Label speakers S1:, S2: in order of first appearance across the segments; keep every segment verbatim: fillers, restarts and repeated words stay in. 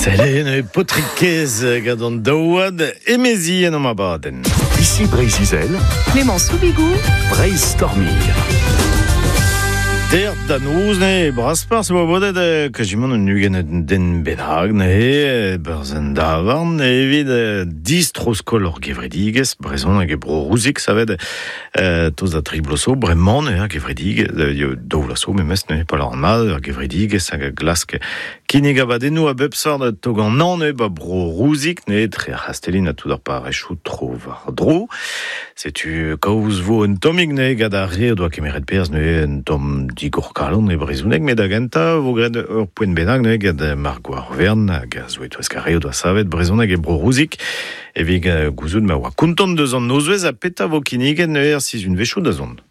S1: Selen potrikez gant an daouad emezi en am abadenn.
S2: Ici Breizh-Izel,
S3: Clément Soubigou,
S2: Breizh Stormir.
S1: Der da noz ne braspar se oa bodet eh, kajimant un ugent den bennak ne berz an davarn evit eh, distro-skol ur gevredigez brezhon hag e bro rouzik savet eh, toz da tri bloso bremañ ne gevredigez eh, daou vloaz memes ne pa an mat ur gevredigez hag a glask kinnig abadennoù a bep sort tog an an ne ba bro rouzik ne tre ar c'hastellin a tout ar parechou tro war dro. Setu kaoz vo un tommig ne gant ar re doa kemeret perz ne un tomm digor kalon e brezhoneg met da gentañ vo graet ur poent bennak ne gant Margot ar Vern hag a zo etouez ar re doa savet brezhoneg e bro rouzik evit gouzout ma oa kontant deus an nozvez a peta vo kinniget ne er sizhun vechoù da zont.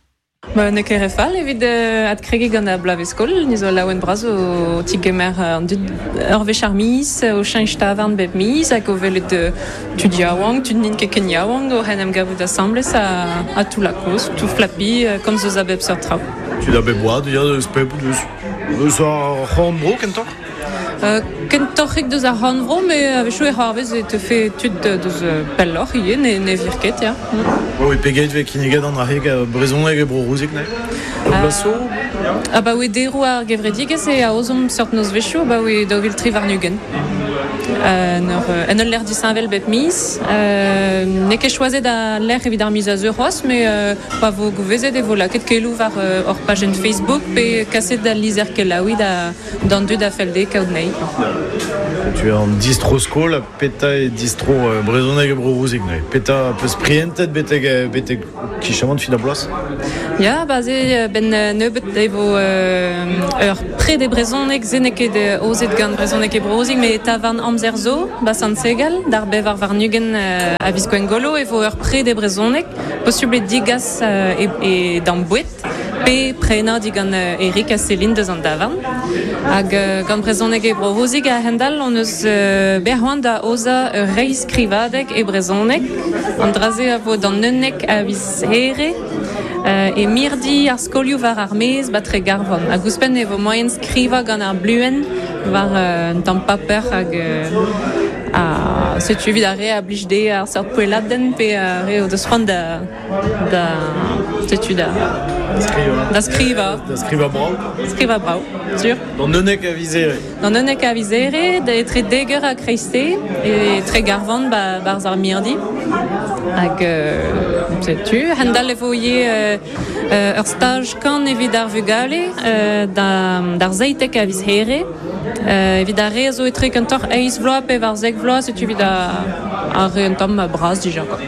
S4: Ba, ne ket re fall evit euh, adkrege gant ar bloavezh-skol, ni zo laouen bras o tigemer an dud ur wech ar miz, o cheñch tavarn bep miz, hag o welet euh, tud yaouank, tud n'int ket ken yaouank, o hen em gavout asambles a, a tout la koz, tout flapi, euh, komz eus a bep seurt traoù.
S1: Tud a bep oad, ya, eus pep, eus, eus ar c'horn-bro kentoc'h?
S4: Euh, kentoc'hik deus ar c'horn-bro, mais a-wechoù e c'hoarvez e teufe tud deus pelloc'h ivez, ne, ne vir ket, ya. Mm.
S1: Oui, pegeit vez kinniget an arreg brezhoneg e bro rouzik, ne?
S4: Euh,
S1: Blaso?
S4: Ah ba oe deroù ar gevredigezh e aozomp seurt nozvezhioù, ba oe daou vil tri warn-ugent. Euh, en ur, en ul lec'h disheñvel bep miz. Euh, n'eo ket choazet a lec'h evit ar miz a zeu c'hoazh, mais euh, pa vo gouvezet e vo lakaet keloù war euh, hor pajenn Facebook pe kaset da lizher kelaouiñ da d'an dud a fell dezhe kaout anezhi.
S1: Tu es en distro-skol, peta e distro euh, brezhoneg e bro rouzik, ne? Peta peus prientet betek, betek kichamant fin a bloaz?
S4: Ya, ba ze ben nebeut e vo euh, ur pred e brezhoneg, se n'eo ket ozet gant brezhoneg e bro rouzik, met tavarn amzer zo, ba Sant-Segal, d'ar bevar warn-ugent euh, a viz Gwengolo, e vo ur pred e brezhoneg, posubl eo digas euh, e, e d'an boued, pe prenañ digant euh, Eric ha Céline deus an davarn. Hag euh, gant brezhoneg e bro rouzik a hendal, on eus euh, berc'hoant da oza ur reizh skrivadeg e brezhoneg. An dra-se a vo d'an unnek a viz here, euh, e mirdi ar skolioù war ar maez ba Tregarvan. Hag ouzhpenn e vo moaien skrivañ gant ar bluenn war euh, un tamm paper hag euh, a setu evit ar re a blij dezhe ar seurt poelladenn pe ar re o deus c'hoant da, da setu da da skrivañ.
S1: Da skrivañ brav.
S4: Skrivañ brav, sur.
S1: D'an unnek a viz here.
S4: D'an unnek a viz here, da etre dek eur ha kreizte, e Tregarvan ba, barzh ar mirdi. Hag euh, setu, hendal e vo ivez euh, euh, ur staj kan evit ar vugale euh, da, d'ar seitek a viz here. Euh, evit ar re a zo etre kentoc'h eizh vloaz pe war zek vloaz, setu evit ar, ar re un tamm bras dija, quoi.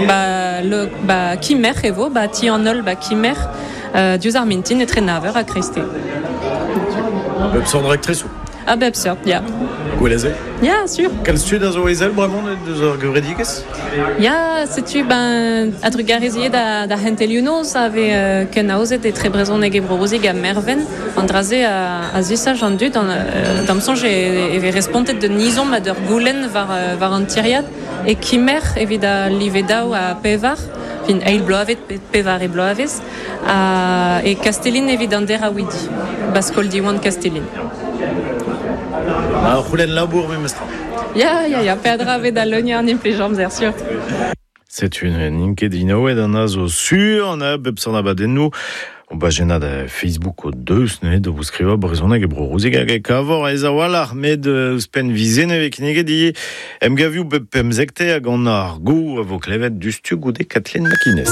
S4: Ba, le, ba, Kimerc'h e vo, ba ti an holl ba Kimerc'h, euh, diouzh ar mintin etre nav eur ha kreizte.
S1: A bep seurt raktresoù.
S4: A bep seurt, ya.
S1: Gwell se?
S4: Ya, sur.
S1: Kalz tud a zo ezel bremañ deus ar gevredigezh?
S4: Ya, setu ben a-drugarez ivez da, da c'hentelioù noz a vez euh, ken aozet etre brezhoneg e bro rouzik ha Merven. An dra-se a, a zisach an dud, an, euh, d'am soñj e, e vez respontet de nizomp ha d'ur goulenn war, euh, war an tiriad e Kimerc'h evit a live daou ha pevar, fin eil bloavezh pe pevar e bloavezh, ha e Kastellin evit an deraouidi, ba skol Diwan Kastellin.
S1: Ah, c'houlenn labour memestra.
S4: Ya, ya, ya, peadra vez da leuniañ an implij amzer, sur.
S1: Setu n'int ket dinaouet an a zo sur, an a bep seurt abadennoù. O bajennad Facebook o deus ne da vous skrivañ brezhoneg e bro rouzik hag e kavor aes a-walc'h met ouzhpenn vizen e vez kinniget ivez emgavioù bep pemzekte hag an ar go a vo klevet diouzhtu goude Kathleen McInnes.